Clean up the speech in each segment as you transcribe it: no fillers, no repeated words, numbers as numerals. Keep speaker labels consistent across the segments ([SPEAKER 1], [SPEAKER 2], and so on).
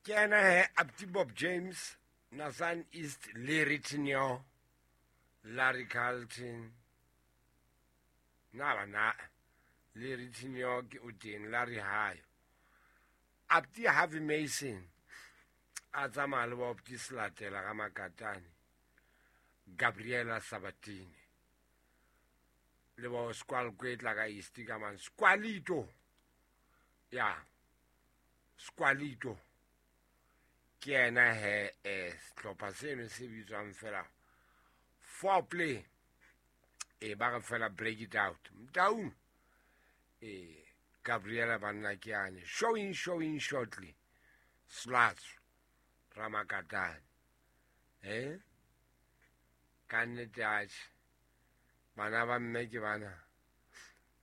[SPEAKER 1] Ke ena he Apti Bob James, Nathan East, Larry Tinio, Larry Carlton. Na ba na Larry Tinio ke o teng, Larry Hayo. Apti Harvey Mason a tsamaya le Bopti Selatela ga Makatane, Gabriela Sabatini le bo Squal Kwetla ka East ka man Squalito. Ya Squalito ke ena he sehlopha seno se bitswang fela Foreplay. E ba re fela break it out Mtaung. E Gabriela banna ke ane showing showing shortly Sluts Ramakatane. Ka nnete atjhe bana ba mme ke bana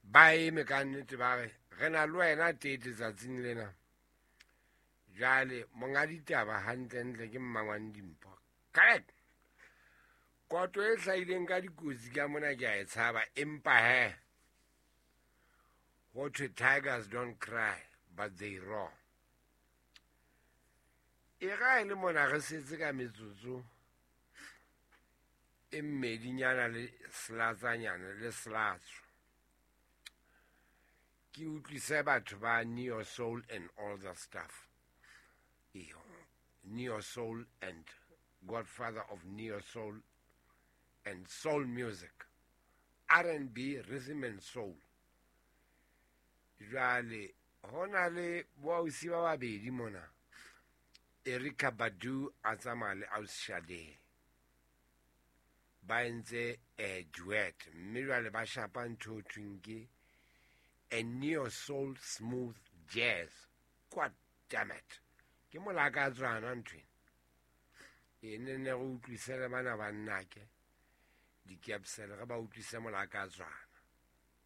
[SPEAKER 1] ba eme ka nnete ba re re na le wena tete tsatsing lena. Jwale monga ditaba hantlentle ke Mmangwane Dimpho. Correct. Koto e hlahileng ka dikotsi ka mona ke a e tshaba, empa he ho thwe tigers don't cry but they roar. E ga e le mona re setse ka metsotso e mmedinyana le selatsanyana le selatso. Ke utlwise batho ba Neo Soul and all the stuff. Neo Soul and Godfather of Neo Soul and Soul Music, R&B, Rhythm and Soul. Jwale ho na le boausi ba babedi mona, Erykah Badu a tsamaya le Ausi Sade, ba entse a duet, mme jwale ba shapa ntho ho thweng ke a neo soul smooth jazz. God damn it, ke molaka tswana nthwena e ne ne re utlwise le bana ba nnake dikepsele, re ba utlwise molaka tswana.